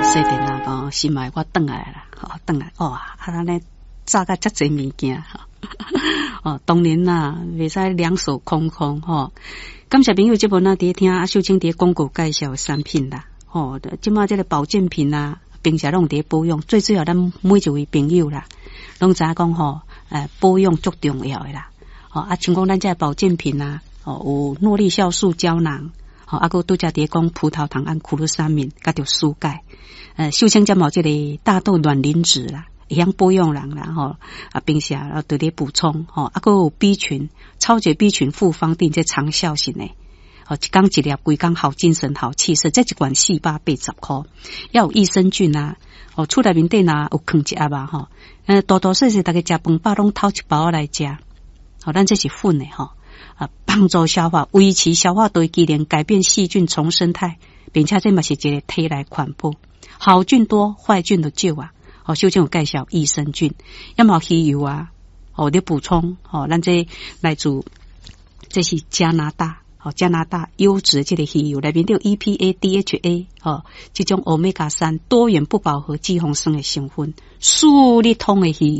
細電啊，講心愛我轉來啦，吼，轉來，哇，啊，按呢紮甲遮濟物件，哦，當然啦，袂使兩手空空，吼。感謝朋友這本啊，佇聽阿秀清佇廣告介紹的產品啦，吼，這馬這個保健品啊，平常攏佇保養，最主要咱每一位朋友啦，攏知影講吼，保養足重要的啦，吼，啊，像講咱這保健品啊，哦，有諾麗酵素膠囊，吼，啊，閣拄才佇講葡萄糖胺苦魯三敏，佮著蘇鈣，秀清才有這個大豆卵磷脂啦，會曉保養人啦，吼，啊，平時啊，佇咧補充，吼，啊，閣有 B 群，超級 B 群複方錠，這長效型的，吼，一工一粒，規工好精神、好氣色，這一罐480箍，猶有益生菌啊，哦，厝內面底若有囥一盒啊，吼，大大細細逐家食飯飽攏偷一包來食，吼，咱這是粉的吼，啊，幫助消化，維持消化道機能，改變細菌叢生態，並且這嘛是一個體內環保，好菌多，壞菌就少啊。哦，秀清有介紹益生菌，猶嘛魚油啊，哦，咧補充，哦，咱這來自這是加拿大，哦，加拿大優質這個魚油內面有 EPA、DHA，哦，這種歐米伽三多元不飽和脂肪酸的成分，舒利通的魚油。